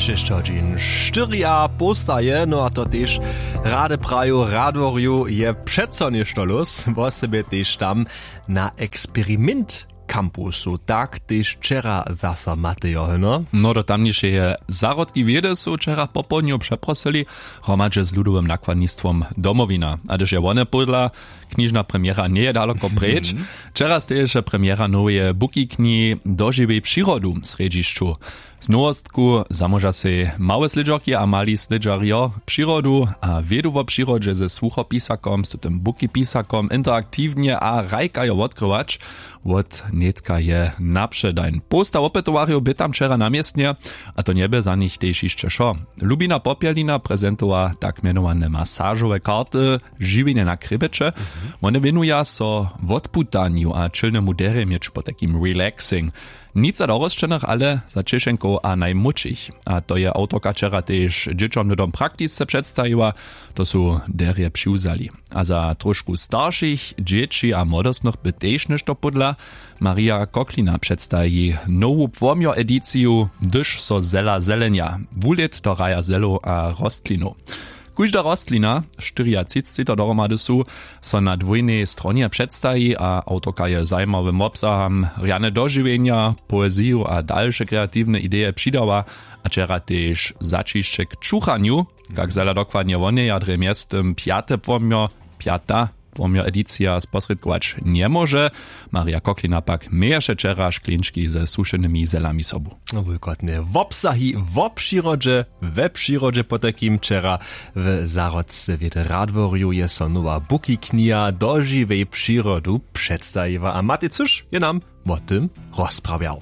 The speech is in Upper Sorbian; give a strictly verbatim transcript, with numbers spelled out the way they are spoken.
Šesć hodźin štyri a połsta je, no a to tež rady praju radworju je přeco něšto lós, wosebje tež tam na eksperimint kampusu, tak tež wčera zaso matejo hyno. No, do tamnišeje zahrodki wědy su wčera popołdnju přeprosyli hromadźe z ludowym nakładnistwom Domowina, a hdyž je wone pódla, knižna premjera njeje daloko preč. Wčera steješe premjera noweje bukikni Dožiwej přirodu w srjedźišću. Z nowostku zamóža sej małe slědźerki a mali slědźarjo přirodu a wědu wo přirodźe ze słuchopisakom z tutym bukipisakom interaktiwnje a hrajkajo wotkrywać. Wot nětka je napředajn połsta wopytowarjow bě tam wčera na městnje, a to njebě za nich tež hišće wšo. Lubina Popjelina prezentowa tak mjenowane masažowe karty žiwjenje na krjebjeće. Wone wěnuja so wotputanju a čilnemu derje měć potajkim relaxing. Nic za dorosćenych, ale za ćěšenkow a najmłódšich. A to je awtorka wčera tež dźěćom hnydom praktisce předstajiła. To su derje přiwzali. A za tróšku staršich dźěći a młodostnych by tež něšto pódla. Marija Koklina předstaji nowu płomjo ediciju, hdyž so zela zelenja, wulět do raja zelow a rostlinow. Kóžda rostlina, štyriatřicci to dohromady su, so na dwójnej stronje předstaji a awtorka je zajimawym wobsaham rjane dožiwjenja, poeziju a dalše kreatiwne ideje přidała. A wčera tež zaćišće k čuchanju, kak zala dokładnje woneja drje mjeztym pjate płomjo, pjata płomjo edicija sposrědkować njemóže. Marja Koklina pak měješe wčera škleńčki ze sušenymi zelami sobu. Wulkotne wobsahi wo přirodźe, we přirodźe potajkim wčera w zahrodce wědy radworju je so nowa bukiknija Dožiwej přirodu předstajiła a Matej Cyš je nam wo tym rozprawjał.